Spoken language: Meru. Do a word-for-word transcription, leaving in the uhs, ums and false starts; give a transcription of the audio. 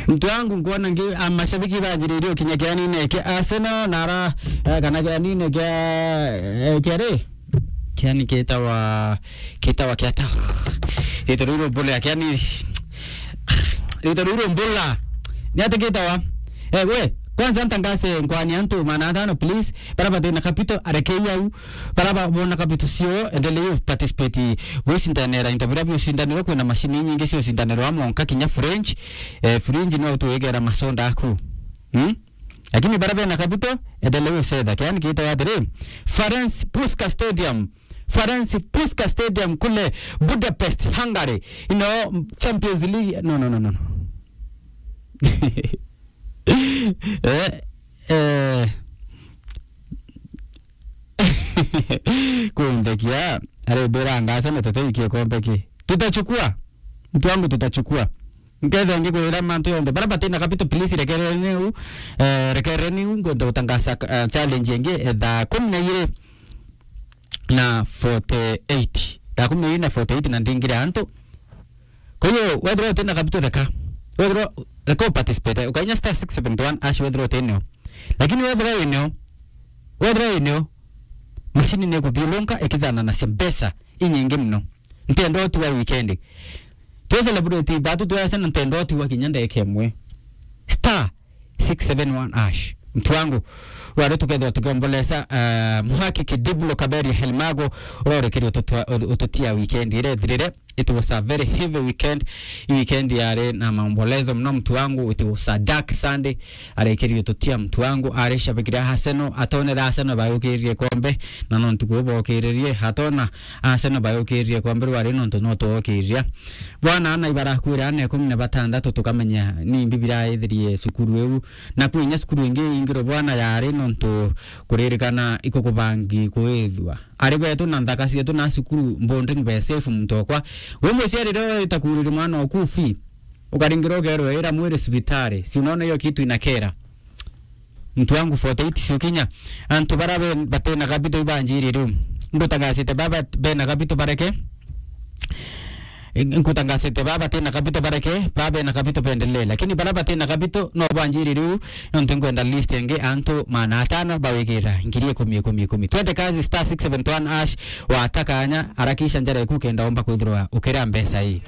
Mtu wangu nkuona ngi, a, mashabiki banjiririe ukinya kianine kia Arsenal na ara, eh, kana kianine kia, eh, kia ri? Kiani kitawa, kitawa kia ta. Rito ruru mbula kiani. Rito ruru mbula. Ni ati kitawa. Eh, we, kwanza ntangase nkwani antu maana atano, please. Bara batina capital, arekei au. Bara ba-, bona capital cio, endelei u participate. Wicindanira into bira biucindanirwa, kwina mashini nyingi ciucindanirwa monka kinya fridge. Eh, fridge no tuigera masoda aku. Hmm? Lakini bara bena capital, endelei ucetha. Kiani kitawa atiri, Ferenc Puskas Stadium. Ferenc Puskas Stadium kule Budapest, Hungary. You know, Champions League. No, no, no, no, no. Eh, eh. Kundekia, ari bera ngasa na tete ikie kombe ki. Tutachukua. Mtu wangu, tutachukua. Nketha ngikwira mantu yonthe. Bara batina capital, please, rekereni u. Eh, rekereni u, ngwenda gutangaza, eh, challenge ingi, eh, thaa kumi na iri na forty-eight. Thaa kumi na iri na forty-eight na ndingire antu. Kwa hiyo, wethira utina capital, reka. Wethira, reka u participate. Ukainya star six seven one hash wethira utinio. Lakini wethira winio, wethira winio, mashini ni kuthiulunka ikithana na mbeca inyingi muno. Ntenda utiwa weekend. Twe celebrate batu twe Arsenal, ntenda utiwa kinya ndeka imwe. Star six seven one hash. Mtu wangu, wari tukethwa tukiombolesa, uh, Muhaki Kidibulo Kaberi Helmago, urorekeria ututua-, utu-, ututia weekend ire thirire. It was a very heavy weekend. I weekend yari na maombolezo muno, mtu wangu. It was a dark Sunday. Arekerie ututia, mtu wangu. Ari shabiki ria Arsenal, atonera Arsenal bayukirie kombe, na no ntuku bokiririe, atona Arsenal bayukirie kombe, rwari nontu no twokiria. Bwana, ana ibarakwira ana ikumi na batandatu, tukamenya ni mbi biraithirie cukuru iu. Na kwinya cukuru ingi ingiro bwana yari nontu kuririkana ikukubangi kuithua. Ari betu na nthaka cietu na cukuru boarding be safe muntu okwa. We muciari riria wita kuriri mwana oku fee, ukaringira ukerwa ira mwiri cibitari. Si unaona hiyo kitu inakera? Mtu wangu, forty-eight cio kinya. Antu bara be-, batena capital ibanjiri riu. Ngutangasite baba bena capital bareke. Ngutangasite baba batena capital bareke, baba bena capital bendelee. Lakini bara batena capital no banjiri riu, nontu ngwenda list ingi antu maana atano bawigira ngiri ikumi, ikumi, ikumi. Twende kazi, star six seven one hash, watakanya, arakisha njara iku kenda omba kwithirwa ukira mbeca ii.